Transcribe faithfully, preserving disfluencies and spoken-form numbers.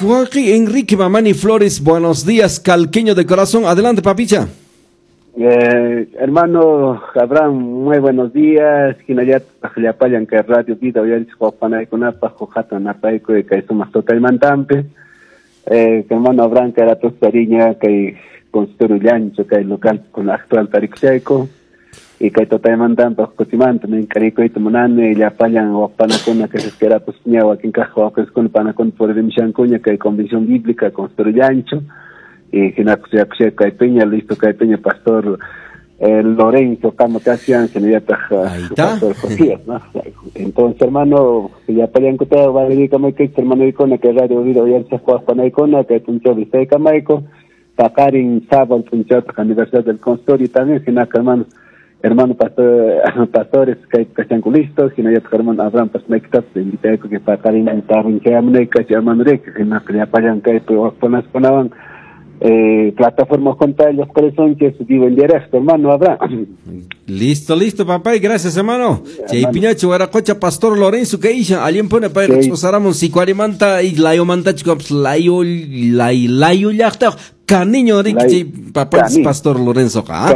Joaquín Enrique Mamani Flores, buenos días, calqueño de corazón. Adelante, papicha. Eh, hermano Abraham, muy buenos días. Hinallataq llapallan kay Radio Vida uyarichik wapanaykunapaq huk hatun napaykuy kay sumaq tutaymantampi. Eh, hermano Abraham kay ratos tariña kay consultorio Llancho kay local con actual tarikushayku. Y kay tutaymantampa kutimanta mink'arikuyta munani llapallan wapanakuna kay ratos ña wakin kaq wawqiskuna panakuna puririmshankuña kay Convención Bíblica Consultorio Llancho. Y hinakushaykushayku kay piña listo kay piña pastor eh, Lorenzo Kamakassian, hinallataq pastor Josías, ¿no? Entonces, hermano, llapallankuta valerikamay hermano kay Radio Vida uyarichaq waqpanaykuna kay punchaw vistaykamayku paqarin sábado punchawtaq aniversario del consultorio también hinaka hermano hermano pastor pastores kay kashanku listos hinallataq hermano Abraham pasmaykitapas invitayku que paqarin tarrinchayamunayku hermano rek hinaka llapallan kaypi waqpanaskunawan Eh, plataforma junta los corazones vivo en directo, hermano Abraham. Listo, listo, papá, y gracias, hermano. Chay piñacho, Huaracocha, Pastor Lorenzo, que isha, alguien pone para que sicuarimanta y layomanta, chicos, layo, lay, layo, llaqta, caniño, papá, Pastor Lorenzo, ¿ah?